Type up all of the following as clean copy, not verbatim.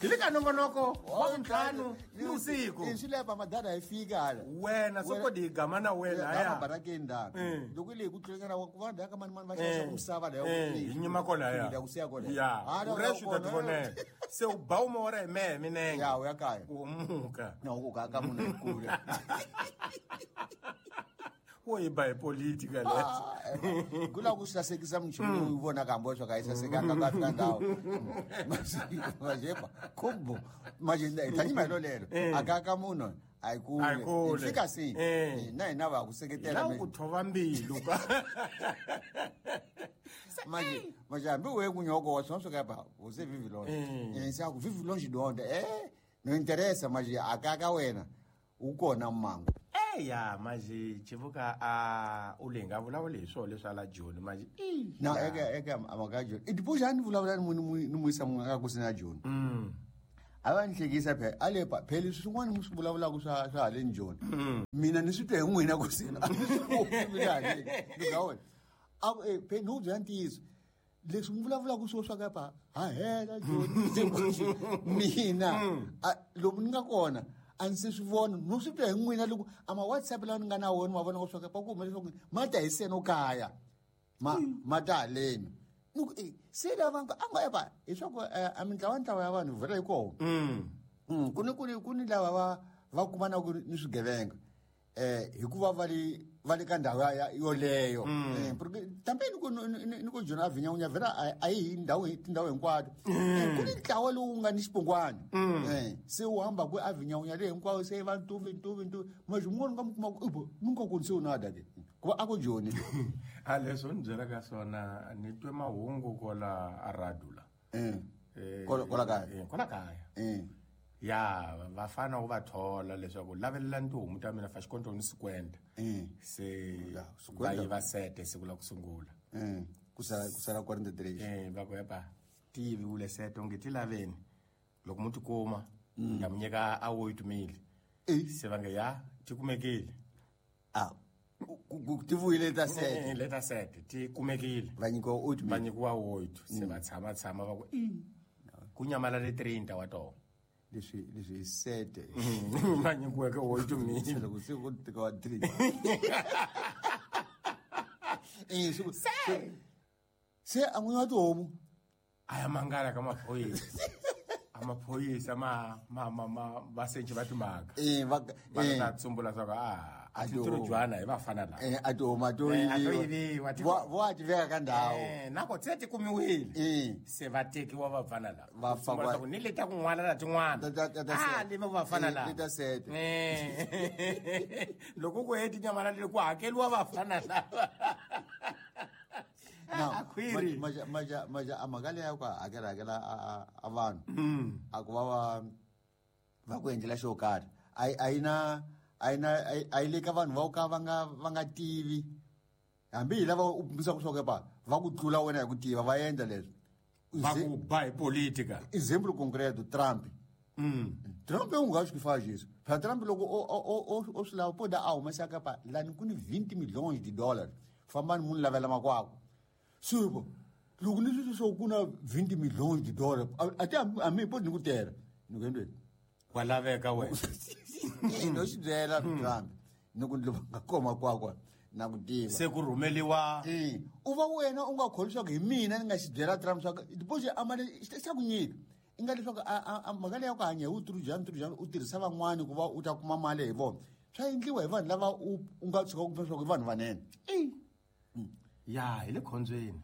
Hi le ka nongonoko wa vuntlhanu ni vusiku. Swi leva madada hi fika hala. Wena soko di gama na wena ya barakeni da. Loko le ku tlulekana wa ku vanhu ka mani mani va xavisa misava la ya. Hi nyima kona ya. Ya ku siya kona. Ya. U reshu ta tivonela. Se u ba umora hi mehe minenge. Ya u ya kaya. U muka. Na ku ka ka munhu kule. Wo yi ba hi politika le. Ku la ku sasekisa mchumu u vona ka mboxo ka yi sasekanga ka fika ndhawu. Majepa kumbo maje tani malo lero akaka munhu a yi kule. Fika si na hina va ku seketela mina. Ku thova mbilu ka. Maje maje hambi we ku nyoko wa swona ka ba você vive longe. Se ku vive longe de onde não interessa maje akaka wena u kona mmango. Ya maji chivuka a ulenga vulavula hi swona leswi ala Joni maji na eka amaka Joni i dipoja ni vulavula ni ni muisa munhu aka kusina Joni a va ni hlekisa phela ale pa phela leswi swin'wana mi swi vulavulaka swa haleni Joni mina ni swi twe hi n'wina kusina a ku phela ni ku byela ntiyiso leswi mi vulavulaka swo swa ka pa ha hela Joni mina lomu ni nga kona a ndzi swi vona no swi twa hi n'wina loko a ma WhatsApp lawa ni nga na wona ma vona ku swa ka ku hume leswaku ma ta hi seno kaya ma ta haleni ni ku se lava a nga eva hi swa ku a mintlawa ntlawa ya vanhu vhela hi kona ku ni lava va kumanaka ni swigevenga hikuva va le ka ndhawu yoleyo tambe ni ku Joni a vinyawunya vhela a yi hi ndhawu tindhawu hinkwato ku ni ntlawa lowu nga ni xipongwana se wu hamba ku a vinyawunya leyi hinkwayo se va ntuvi maje mun'wana u nga mi kuma ku ibo mi nga koni se u nada ke ku va a ku Joni a leswo ni byelaka swona ni twe mahungu kola a radula kola kaya kola kaya ya vafana ku va thola leswaku lavelela ntihomu ta mina fa xikonto ni sikwenda se va yiva sete siku la ku sungula ku sala 43 va ku epa ti yiviwile sete onge ti laveni loko mu ti kuma nga mi nyika a wo yi tumile se va nge ya ti kumekile ti vuyile ta sete leta sete ti kumekile va nyikiwa oat va nyikiwa oat se va tshama va ku ku nyamalale 30 wa tona leswi sete va nyikiweke oat mile loko se ku tika wa 3 se a n'winyi wa tihomu a ya mangala ka maphorisa a maphorisa ma vasenci va timhaka va ta tsumbula swa ku a ti jwana hi vafana lava a tihomu a to yiviwa vo a ti veka ka ndhawu nako se ti kumiwile se va tekiwa vafana lava va ni leta kun'wana na tin'wana a leva vafana lava leta sete loko ku he tinyamana leti ku hakeliwa vafana lava na maja a mhaka leyi ya ku hakela a vanhu a ku va va ku endlela xo karhi a yi na a yi le ka vanhu va ka va nga tivi hambi hi lava u pimisaka swa ku pa va ku tlula wena hi ku tiva va endla leswi va ku ba hi politika example concreto Trump Trump u nga swi faz isso phela Trump loko o swi lava poda a humesaka pa lani ku ni 20 milhões de dólares fambani munhu lavela makwako supo loko ni swi swo ku na 20 milhões de dólares a ti a mi podi ni ku tera ni ku endleni wa laveka wena no xi byela Trump ni ku ndzi nga koma kwakwa na ku tiva se ku rhumeliwa u va wena u nga kholwi swa ku hi mina ni nga xi byela Trump swa ku diposi a mali xa ku nyika i nga leswaku a mhaka leyi ya ku hanya hi vuturujani u tirhisa van'wani ku va u ta kuma mali hi vona swa endliwa hi vanhu lava u nga tshuka ku leswaku i vanhu vanene ya hi le khombyeni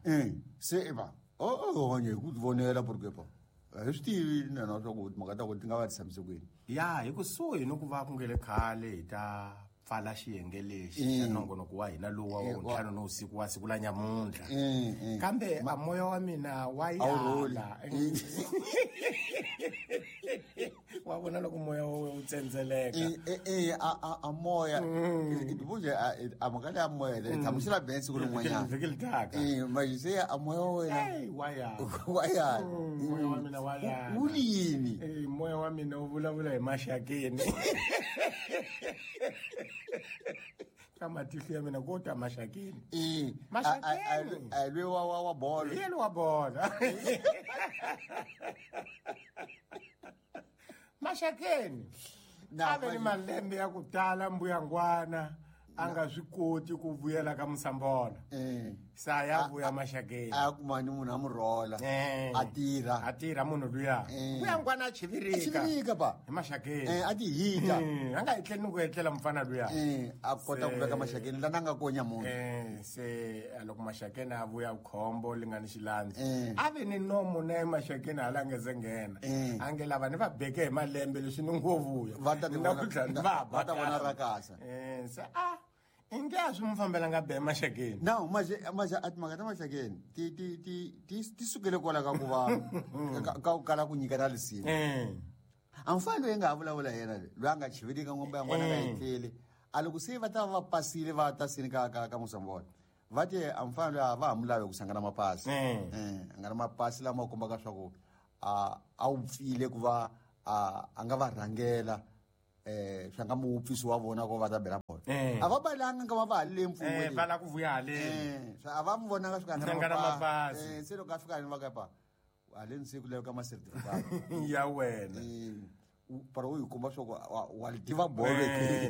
se va o hanya hi ku tivonela porque pa a hi swi tivi na swa ku timhaka ta ku ti nga va ti tshamise kwini ya hi kusuhi ni ku va ku nge le khale hi ta pfala xiyenge lexi xa nongonoko wa hina lowu wa vuntlhanu ni usiku wa siku la nyamuntlha kambe a moya wa mina wa yala wa vona loko moya wa wu tsendzeleka a moya ibuje a mhaka leya moya leyi tshamisela ben siku rin'wanyana vhiki li taka manje se a moya wa wena wa yala wa yala moya wa mina wa yala wu yini moya wa mina wu vulavula hi maxakeni ka matihlo ya mina ko ta maxakeni maxakeni a lwe wa bolo yena wa bolo Maxakeni a ve ni malembe ya ku tala mbuyangwana a nga swi koti ku vuyela ka Musambola. Sa ya vuya Maxakeni, a kuma ni munhu a mu rhola, a tirha. A tirha munhu luya. Mbuyangwana a chivirika. A chivirika pa. Hi Maxakeni. A ti hita. A nga etleli ni ku etlela mufana luya. A kota ku veka Maxakeni lana nga konya munhu. Se loko Maxakeni a vuya khombo li nga ni xilandzi, a ve ni nomo na Maxakeni hala nge se nghena. A nge lava ni va beke hi malembe leswi ni ngo vuya. Va ta va ta vona rakasa. Se a inge a swi mu fambelanga be Maxakeni. No, maje a timhaka ta Maxakeni ti ti ti ti ti sukele kwala ka ku va ka ku kala ku nyika na risimu. A mfana loyi nga ha vulavula yena loyi a nga chivirika ngomba ya n'wana nga etleli, a loko se va ta va pasile va ta sini ka ka ka Musambola, va te a mfana loyi a va ha mu lavi ku sangana mapasi. A nga na mapasi lama kombaka swa ku a wu pfile ku va a nga va rhangela, swa nga muupfisi wa vona ko va ta bela bolo. A va balanga nga va va halele mpfungwe. Va la ku vuya haleni. A va mu vonanga swi nga na mapasi. Se loko a fika haleni va ka pa haleni se ku laveka ma certificate ya wena. Para u yi komba swa ku wa li tiva bolo.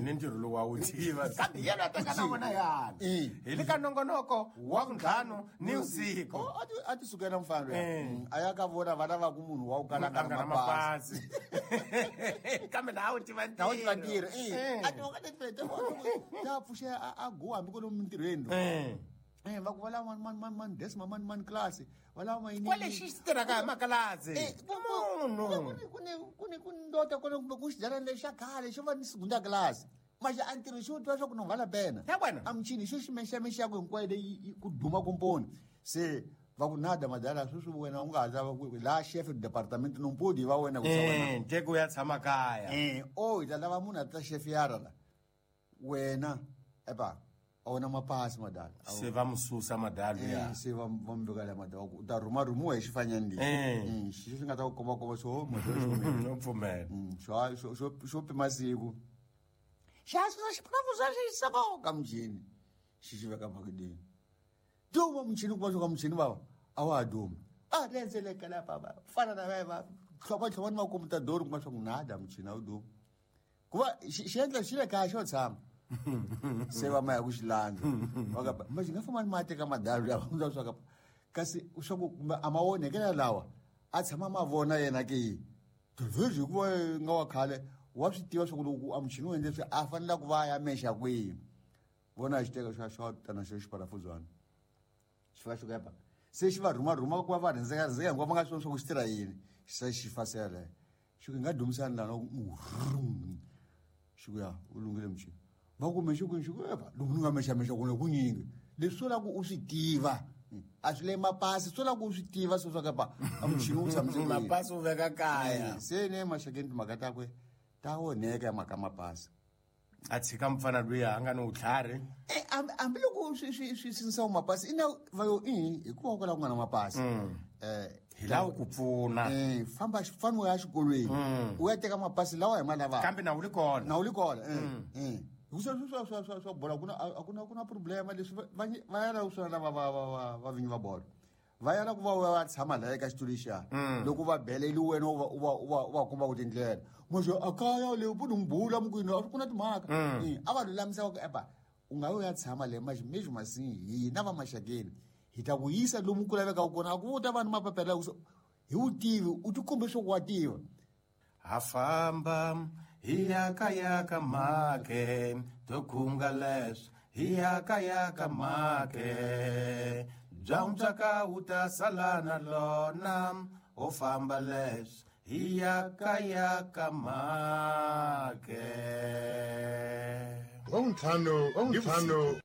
Ni ntirho lowu wa wu tiva. Kambe yena a teka na vona yana. Hi le ka nongonoko wa vuntlhanu ni vusiku. A ti sukela mufana luya. A ya ka vona va lava ku munhu wa ku kala nga na mapasi. Kambe laha u tiva ntirho. Laha u tiva ntirho. A ti va ta pfuxe a go hambi ku ri mintirhweni. Va ku va lava man desk man class. Va lava ma yini. Kwale xi tirhaka hi makalasi. Munhu. Ku ni ndota kona kumbe ku xidyana lexi xa khale xo va ni segunda class. Maxa a ntirho xo twa swa ku no vala pena. A muchini xo xi mexa mexa ku hinkwayo leyi ku duma komponi. Se va ku nada madala sweswi wena u nga ha lava ku la chef de department no mpodi va wena ku wena. Teko ya tshama kaya. O hi ta lava munhu a ta chef yara la. Wena epa a wona mapasi madala. Se va mususa madala ya. Se va mu veka la madala u ta rhuma rhumiwa hi xifanyani lexi. Xi nga ta ku komba komba xo madala xo no pfumela. Xo xo pima siku. Xa susa xiphuravuza xi yisa ka muchini. Xi xi veka makideni. Duma muchini ku va swo ka muchini bava a wa ha dumi. A rhendzeleka lapha va fana na va tlhova tlhova ni makumu ta dori kuma swa ku nada muchini a wu dumi. Ku va xi endla xi le kaya xo tshama. Se va maya ku xi landza. Va ka ma xi nga famba ni ma teka madalo ya va swa ka kasi swa ku a ma onhekela lawa a tshama ma vona yena ke. Tivhezi hikuva nga wa khale wa swi tiva swa ku loko a muchini wu endle swi a fanele ku va ya mexa kwihi. Vona xi teka xa xa tana xo xiparafuzwana. Xi fika xi ku epa. Se xi va rhuma rhuma ku va va rhendzeka rhendzeka hinkwavo va nga swi voni swa ku xi tirha yini. Xi se xi fasela. Xi ku nga dumisani lana xi ku ya u lunghile muchini. Va ku mexe ku xi ku epa loko ni nga mexa mexa ku ku nyingi. Leswi swo la ku u swi tiva. A swi le mapasi swo la ku u swi tiva swo swa ka pa a muchini wu tshamise kwihi. Mapasi u veka kaya. Se ne Maxakeni timhaka takwe ta onheka mhaka mapasi. A tshika mufana luya a nga ni vutlhari. Hambi loko swi swi swi sinisa mapasi ina va yo hikuva kwala ku nga na mapasi. Hi lawa ku pfuna. Famba fana u ya xikolweni. U ya teka mapasi lawa hi ma lavaka. Kambe na wu li kona. Na wu li kona. Hi swa swa swa swa swa bola kuna a kuna kuna problema leswi va ya la ku swa lava va va vinyi va bolo. Va ya la ku va va tshama la eka xitulu lexiya. Loko va beleli wena u va u va komba ku tindlela. Manje a kaya le u mbula mukwini a ku na timhaka. A va lulamisa ku epa u nga yo ya tshama le manje mejhu masini hina va Maxakeni hi ta ku yisa lomu ku lavekaka kona a ku ta va ni mapapela ku hi wu tivi u tikombe swo ku wa tiva. Ha famba hi ya ka make to khunga leswi hi ya ka make bya ntswaka wu ta sala na lona o famba leswi hi ya ka make. Wa vuntlhanu ni vusiku.